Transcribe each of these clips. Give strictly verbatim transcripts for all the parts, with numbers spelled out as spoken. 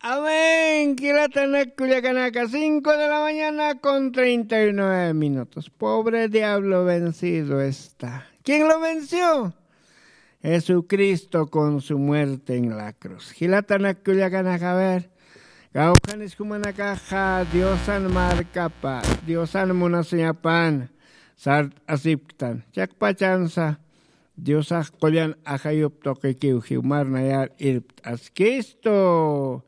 Amén. Jilatanak kullakanaka, cinco de la mañana con treinta y nueve minutos. Pobre diablo vencido está. ¿Quién lo venció? Jesucristo con su muerte en la cruz. Jilatanak kullakanaka, a ver, kawkhanis jumanakaxa diosan markapa, diosan munasiñapan sart'asipktan, chaqpachansa diosax qullan ajayup tuqikiw jiwmar nayar irpt'askistu.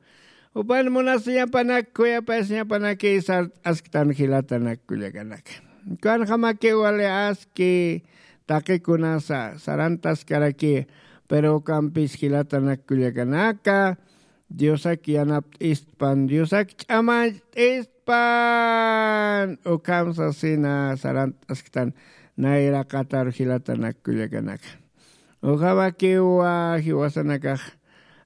Jupan munasiñapanak khuyapayasiñapanaki sart'asktan jilatanak kullakanaka. Kanjamakiw wali aski taqikunasa sarantaskaraki, pero ukampis jilatanak kullakanaka diosak yanapt'istpan, diosak ch'amacht'istpan ukham sasina sarant'asktan nayraqatar jilatanak kullakanaka. Ukhamakiwa jiwasanakax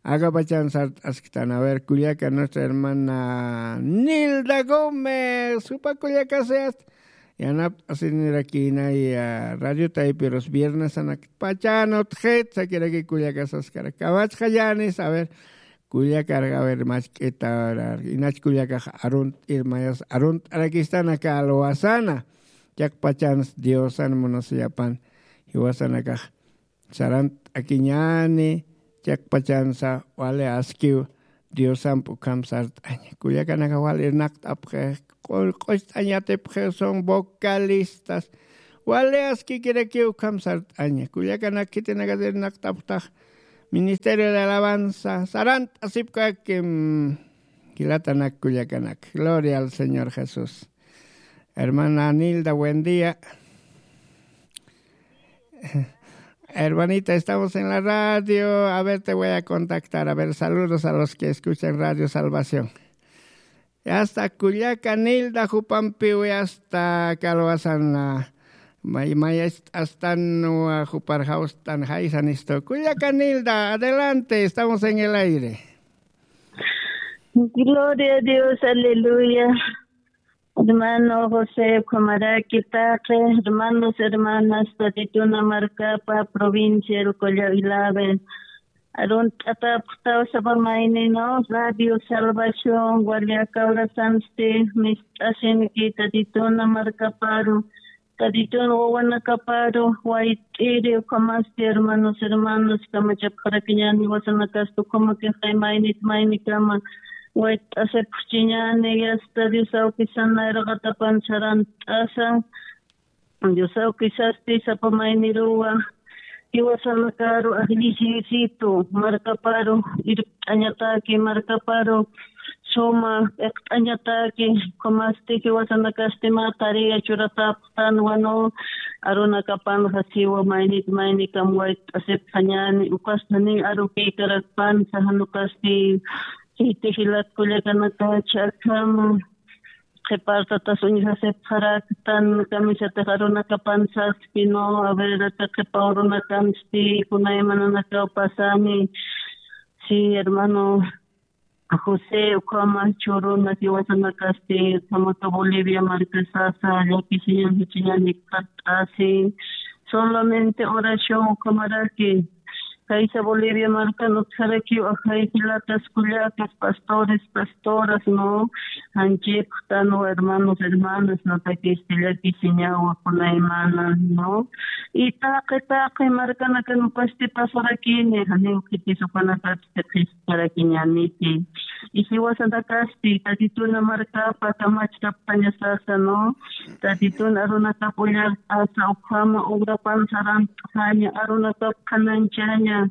akapachan sart'asktan. A ver, kullaka nuestra hermana Nilda Gómez, jupa kullakasayast yanapt'asinirakïnaya radio taypirus viernesanakpachan utjit sakiraki kullakasaskara kamachxallanis. A ver, kullakaraq, a ver, machk'ita, a ver, inach kullakax arunt'ir mayas arunt'arakistana kalwasana. Chaqpachans diosan munasiyapan jiwasanakax sarant'akiñani, chaqpachansa wali askiw diosamp ukham sart'aña. Kullakanaka wali irnaqt'apxi, q'ucht'añatipxi, son vocalistas. Wali askikirakiw ukham sart'aña. Kullakanak khitinakat irnaqt'apxtax ministerio de alabanza sarant'asipkakim. Jilatanak kullakanak, gloria al señor Jesús. Hermana Nilda, buen día. Hermanita, estamos en la radio. A ver, te voy a contactar. A ver, saludos a los que escuchan Radio Salvación. Yasta kullaka Nilda jupampiw yasta kalwasan, ah, may mayast'astan, ah, jupar jawstan jaysanistu. Kullaka Nilda, adelante, estamos en el aire. Gloria a Dios, aleluya. Hermano José, ukhamaraki taqi hermanos, hermanas, Tatituna markapa provincia el Collao Ilave. Arunt'atapxtaw sapa maynino Radio Salvación, wali aka horasansti mist'asinki Tatituna markaparu, Tatitun wawanakaparu wayt'iri, ukhamasti hermanos, hermanos, kamachapxarakiñäni jiwasanakasti, ukhamakixay maynit maynikama wayt'asipxchiñäni, yasta Dios awkisan nayraqatapan sarant'asa, Dios awkisasti sapa mayniruwa jiwasanakaru ajllisitu markaparu irpt'añataki, markaparu suma p'iqt'añataki, ukhamasti jiwasanakasti mä tarea churatapxtanwa, ¿no? Arunakapanxa siwa maynit maynikam wayt'asipxañäni, ukasti janiw arukïkarakpansa, jan ukasti siti jilat kullakanakachi akhama qhipartatas uñjasipxaraktan, kamisatix arunakapan saski, ¿no? A ver, aka qhipa urunakansti kunaymananakaw pasani. Sí, hermano José, ukhama churuna jiwasanakasti, ukhamaka Bolivia marka sasa llakisiñan jichiñan jikxatasi. Solamente oración ukhamaraki. Kaysa Bolivia markan utjarakiw ajay jilatas kullakas, pastores, pastoras, ¿no? Janchipxtanwa hermanos, hermanas, natakisti llakisiñawa kunaymana, ¿no? Y taqi taqi markanakan ukasti pasarakini, janiw khitis ukanakatsti qhisparakiñaniti. Y jiwasanakasti Tatituna markapa kamachkapxaña sasa, ¿no? Tatitun arunakap ullart'asa, ukhama ugrapan sarant'aña, arunakap qhananchaña,